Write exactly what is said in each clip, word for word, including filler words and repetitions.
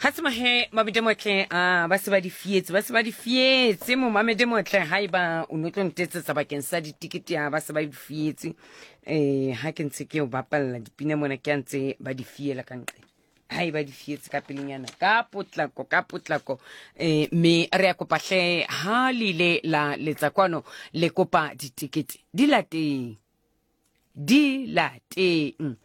Ga se mahe mabede motle a ba se ba di fietse, ba se ba di fietse mo mamede motle ha eba o no tlo ntetsetsa bakeng sa ditikete ya ba se ba di fietse. Eh ha ke ntse ke o bapalla dipina mona ke a ntse ba di fiela ka ntle. Ha eba di fietse ka pelenyana ka potlako ka potlako eh me re ya kopa hle ha le ile la letsa kwano le kopa ditikete di lateng di lateng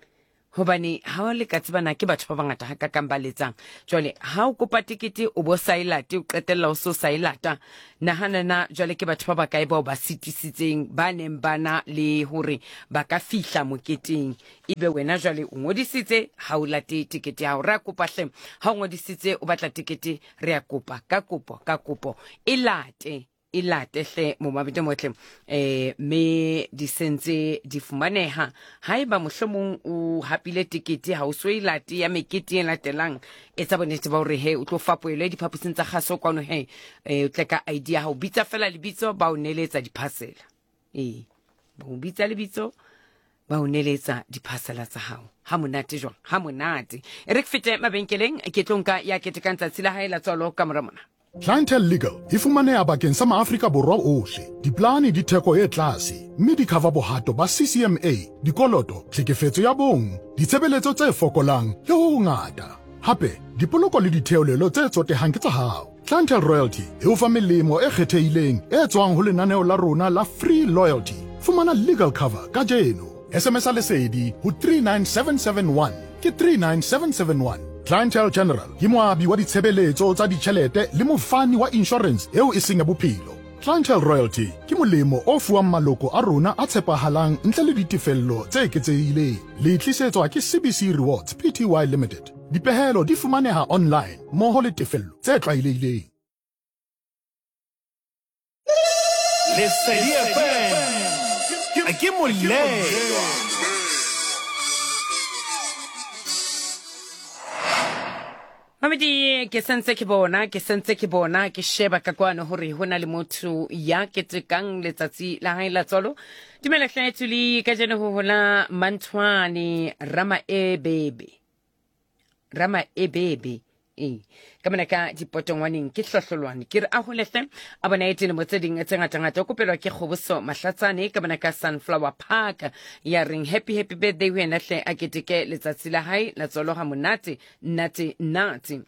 hobane ha o le ka tsebana ke batho ba bangata ha kakang ba letsang. Jwale ha o kopa tekete o bo sa e late, o qetella o so sa e lata. Nahana na jwale ke batho ba bakae bao ba sitisitseng ba neng ba na le hore ba ka fihla moketeng, ebe wena jwale o ngodisitse ha o late tekete ya hao. Re a kopa hle ha o ngodisitse o batla tekete, re a kopa ka kopo ka kopo e late e late hle momabedi motle eh me di sentse di fumaneha. Haeba mohlomong o hapile tekete ha o so e late ya mekete e latelang, etsa bonnete ba hore he o tlo fapoelwe diphaposing tsa kgaso kwano he eh o tle ka I D ya hao, bitsa fela lebitso ba o neletsa diphasela. Ee, ba o bitsa lebitso ba o neletsa diphasela tsa hao. Ha monate jwang, ha monate. E re ke fete mabenkeleng ke tlo nka ya ketekang tsatsi la hae la tswalo ka mora mona. Clientele Legal e fumaneha bakeng sa maAfrika Borwa ohle. Diplane di theko e tlase, mme di cover bohato ba C C M A, dikoloto, tlhekefetso ya bong, ditshebeletso tse fokolang le ho hongata. Hape, dipoloko le ditheolelo tse tsotehang ke tsa hao. Clientele Royalty e o fa melemo e kgethehileng e tswang ho lenaneo la rona la Free Loyalty. Fumana legal cover kajeno. S M S a lesedi ho three nine seven seven one ke three nine seven seven one. Clientele General ke moabi wa ditshebeletso tsa ditjhelete le mofani wa insurance eo e seng ya bophelo. Clientele Royalty ke molemo o fuwang maloko a rona a tshepahalang ntle le ditefello tse eketsehileng. Le tlisetswa ke C B C Rewards P T Y Limited. Dipehelo di fumaneha online mmoho le tefello tse tlwaelehileng. Lesedi F M ke molelwa. Mamedi ke sentse ke bona ke sentse ke bona ke sheba ka kwano hore ho na le motho ya ketekang letsatsi la hae la tswalo. Dumela hle Thuli, kajeno ho hola Manthwane Ramaebebe. Ramaebebe. Ee, ka mona ka dipotongwaneng ke hlohlolwane ke re a holehle a bona e dilemo tse ding tse ngatangata. O kopelwa ke Kgoboso Mahlatsane ka mona ka Sunflower Park ya reng happy happy birthday ho yena hle a keteke letsatsi la hae la tswalo ha monate nate nate.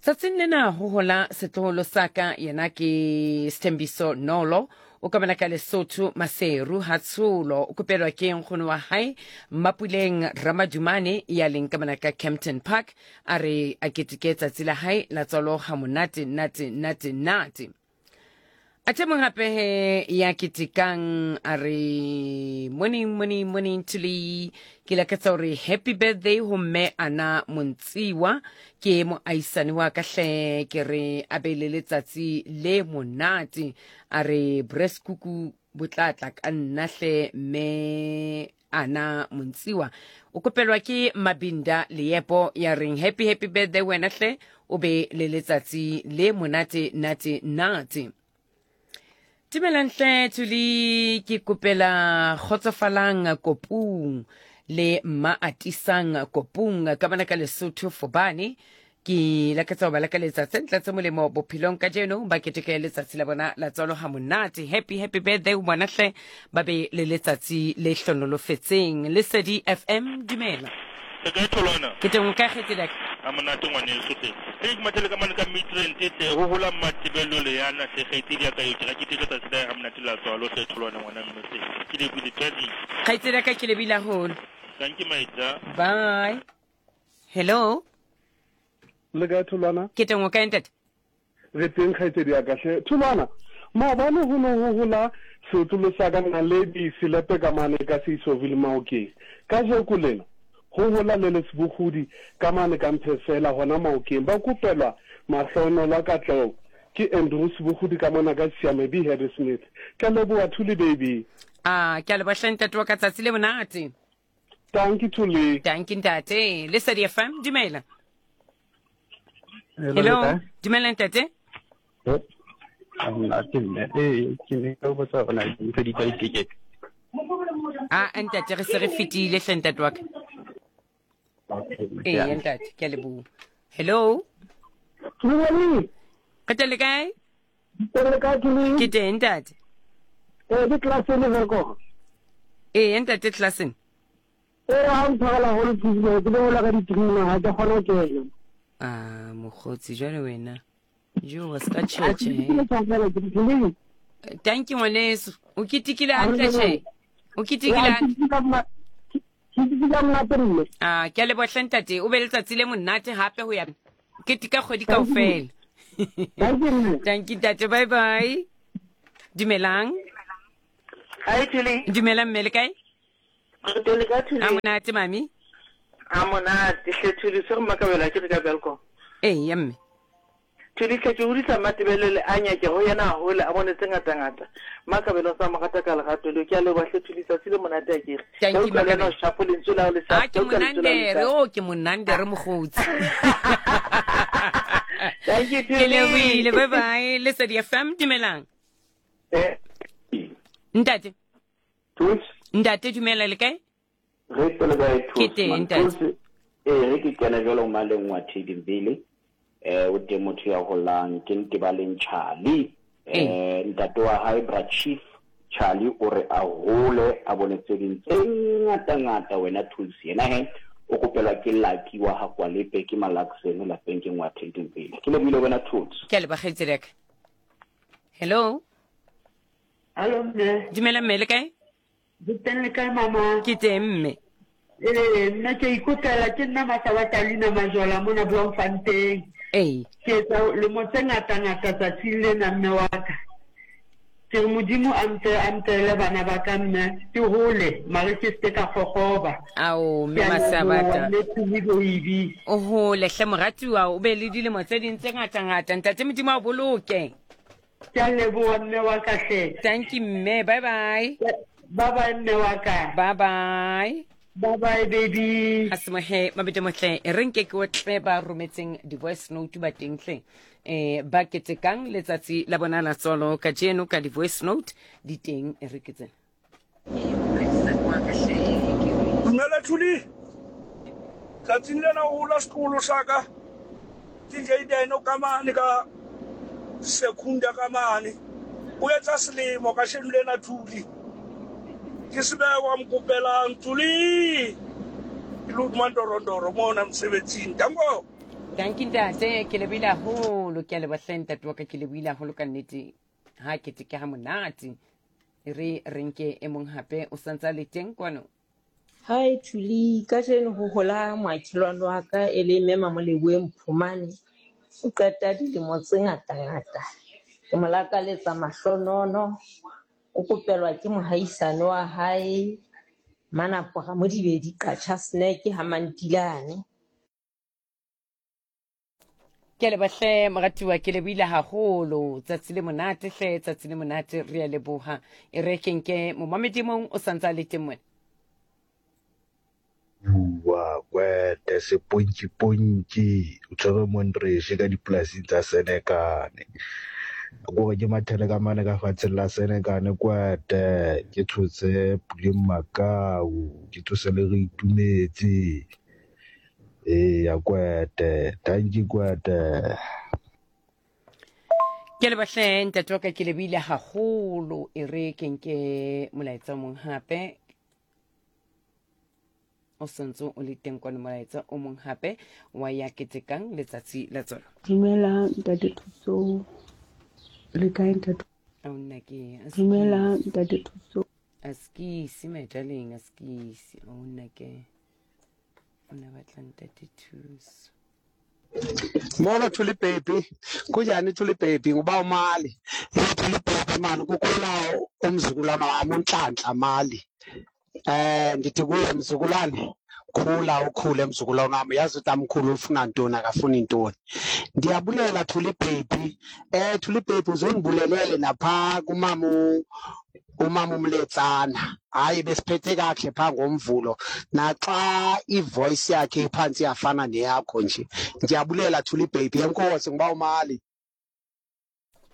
Tsatsing lena ho hola setloholo sa ka yena ke Sthembiso Nolo o ka bona ka Lesotho Maseru Hatsholo. O kopelwa ke nkgono wa hae Mapuleng Ramadumane ya leng ka bona ka Kempton Park a re a keteke tsatsi la hae la tswalo ha monate nate nate nate. Athe mong hape he ya ketekang a re morning morning morning Thuli, ke lakatsa hore happy birthday ho mme Ana Montsiwa ke moahisane wa ka hle, ke re a be le letsatsi le monate. A re breskuku bo tla tla ka nna hle mme Ana Montsiwa. O kopelwa ke Mabinda Leepo ya reng happy happy birthday wena hle o be le letsatsi le monate nate nate. Dumelang hle Thuli, ke kopela kgotsofalang kopung le mma atisang kopung ka bana ka Lesotho Fobane. Ke lakatsa ho ba lakaletsa tse ntle tse molemo bophelong kajeno, ba keteke letsatsi la bona la tswalo ha monate. Happy happy birthday ho bona hle, ba be le letsatsi le hlonolofetseng. Lesedi F M, dumela. Le kae Tholwana? Ke teng, o kae kgaitsedi ya ka? Ha monate ngwaneso hle. Ke ke mathele ka mane ka Midrand hle, ho hola Matebello le yana hle, kgaitsedi ya ka eo, ke ra keteka tsatsi la hae ha monate la tswalo hle Tholwana ngwana mme hle. Ke lebile tjadi. Kgaitsedi ya ka ke lebile haholo. Thank you my dear. Bye. Hello. Le kae Tholwana? Ke teng, o kae ntate? Re teng kgaitsedi ya ka hle. Tholwana, maobane ho no ho hola setlolo sa ka Naledi Selepe ka mane ka Seisoville Maokeng. Kajeko lena ho hola le Lesibogodi ka mane ka Mphefela hona Maokeng. Ba kopelwa mahlohonolo a katleho ke Andrew Sebogodi ka mona ka Siame B Harrismith. Ke a leboha Thuli baby. Ah, ke a leboha hle ntate wa ka, tsatsi le monate. Thank you Thuli. Thank you ntate. Lesedi F M, dumela. Hello, Hello. le kae? Dumela ntate. Ha monate mme. Ee, ke ne ke botsa hore na di ntse di tsa ditekete. Ah, ntate re se re fetile hle ntate wa ka. Okay, Ee, yeah. ntate, ke a leboha. Hello. Dumela. Re teng le kae? Teng le kae Thuli? Ke teng ntate. Eh ke Klassen Welkom. Ee ntate Klassen. Eh ha o ntshwarela haholo Thuli, ke bolela ka di-three ha ke kgone ho kena. Ah mokgotsi jwale wena. Jo wa ska tjhetjhe. Thank you ngwaneso. O ketekile hantle tjhe. O ketekile hantle. Ah ke a leboha hle ntate. O be letsatsi le monate hape ho ya keteka kgwedi kaofela. Thank you ntate. Bye bye. Dumelang. Hi Thuli. Dumelang mme le kae? Re teng le kae Thuli? A monate mami. A monate hle Thuli, se re makabelo ke re ka Welkom. Ee ya mme. Thuli hle ke hodisa Matebelele a nyake ho yena haholo a bone tse ngata-ngata. Makabelo sa mo rata ka lerato leo. Ke a leboha hle Thuli, tsatsi le monate a kere. Thank you Makabelo. Shapo lentswe la hao le Ah ke monandere, o ke monandere mokgotsi. Thank you Thuli. Ke lebohile, bye bye. Lesedi F M, dumelang. Eh. Ntate. Thusi. Ntate dumela le kae? Re teng le kae Thusi? Ke teng ntate. Eh re ke kena jwalo maleng wa Thedibele. Eh o teng motho ya holang ke Ntebaleng Charlie. Eh ntate wa hae Bra Chief Charlie o re a hole a bone tse ding tse ngata ngata wena Thusi. Yena he o kopelwa ke Lucky wa ha Kwalepe ke Malaksene lapeng ke ngwa Thedibele. Ke lebohile wena Thusi. Ke a leboha kgaitsedi ya ka. Hello. Hello mme. Dumela mme le kae? Ke teng le kae mama? Ke teng mme. Eh nna ke ikopela ke nna Masabatalina Majola mona Bloemfontein. Ee. Ke etsa lemo tse ngata-ngata tsatsing lena mme wa ka. Ke re Modimo a mpe a mpele bana ba ka mme ke hole mare ke se ka kgokgoba. Ao mme Masabata. Mme Thuli baby. O hole hle moratuwa o be le dilemo tse ding tse ngata-ngata ntate Modimo a o boloke. Ke a leboha mme wa ka hle. Thank you mme, bye bye. Bye bye mme wa ka. Bye bye. Bye bye baby. Asimohe mabete mohle re nke ke otle ba rometseng di voice note ba teng hle. Eh ba ketekang letsatsi la bona la tswalo kajeno ka di voice note di teng e re ke tsena. Dumela Thuli. Tsatsing lena ho la sekolo sa ka. D J Dino ka mane ka Sekunda ka mane. O etsa selemo ka sheno lena Thuli. Ke sebekwa mkopelang Thuli. Ke lo mandorondoro mona mosebetsing. Danko. Thank you ntate, ke lebohile haholo, ke a leboha hle ntate wa ka, ke lebohile haholo ka nnete. Ha keteke ha monate. Re re nke e mong hape o santsa le teng kwano. Hi Thuli, kajeno ho hola moakelwane wa ka e le mme Mamoleboe Mphumane. O qeta dilemo tse ngata-ngata. Ke mo lakaletsa mahlonono. O kopelwa ke mohaisane wa hae Manapoga Modibedi Qacha Snack ha Mantilane. Ke a leboha hle moratuwa, ke lebohile haholo. Tsatsi le monate hle, tsatsi le monate, re a leboha. E re ke nke momamedi mong o santsa le teng mona. Bua kwete sepontši-pontši o tshwere Montrese ka dipolasing tsa Senekane. Kore ke mathele ka mane ka fatsheng la Senekane kwete ke tshotse Puleng Makau, ke tsose le re itumetse. Eya kwete, thank you kwete. Ke leboha hle ntate wa ka, ke lebohile haholo. E re ke nke molaetsa o mong hape. O santse o le teng kwano molaetsa o mong hape wa ya ketekang letsatsi la tswalo. Dumela ntate Thuso. Le kae ntate? Ao nna ke Dumela ntate Thuso. Askisi my darling, askisi. Ao nna ke o na batla ntate Thuso. Molo Thuli baby, kunjani Thuli baby? Nguba uMali. Thuli baby mani kukhula umzukulwana wami uNhlanhla Mali. Eh ndithi kuye mzukulwane khula ukhule mzukulwane wami, yazi ukuthi amkhulu ufuna ntoni akafuni ntoni. Ndiyabulela Thuli baby. Eh Thuli baby uzongibulelele napha kumama umama uMletsana. Hayi besiphethe kahle pha ngomvulo naxa ivoice yakhe iphansi yafana neyakho nje. Ndiyabulela Thuli baby, enkosi ngiba uMali.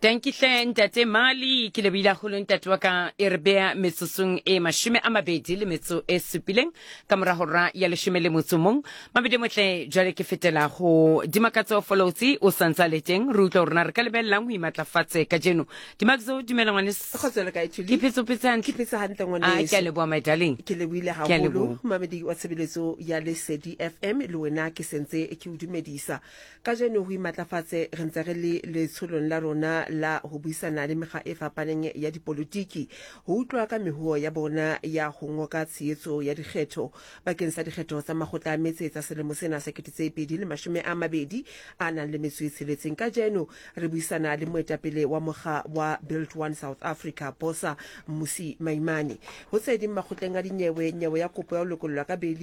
Tankihle ntate Mali, ke lebohile haholo ntate wa ka. E re beya metsotsong e mashome a mabedi le metso e supileng ka mora hora ya leshome le motso mong. Mabedi motle, jwale ke fetela ho Dimakatso Folotsi, o santsa le teng. Re utlwa hore na re ka lebellang ho imatlafatse kajeno. Dimakatso, dumela ngwaneso. Kgotso le kae, Thuli? Ke phetse, o phetse hantle? Ke phetse hantle Ah, ngwaneso. ke a leboha, my darling. Ke lebohile Ke a haholo, leboha. mamedi wa tshebeletso ya Lesedi F M, le wena ke sentse ke o dumedisa. Kajeno ho imatlafatse re ntse re le letsholong la rona la ho buisana le mekga e fapaneng ya dipolotiki ho utlwa ka mehuo ya bona ya ho ngoka tshehetso ya dikgetho bakeng sa dikgetho tsa makgotla a metse tsa selemo sena sa kete tse pedi le mashome a mabedi a nang le metso e tsheletseng. Kajeno re buisana le moetapele wa mokga wa Build One South Africa, Bosa, Mmusi Maimane. Ho tse ding, makgotleng a dinyewe, nyewe ya kopo ya ho lokollwa ka beili.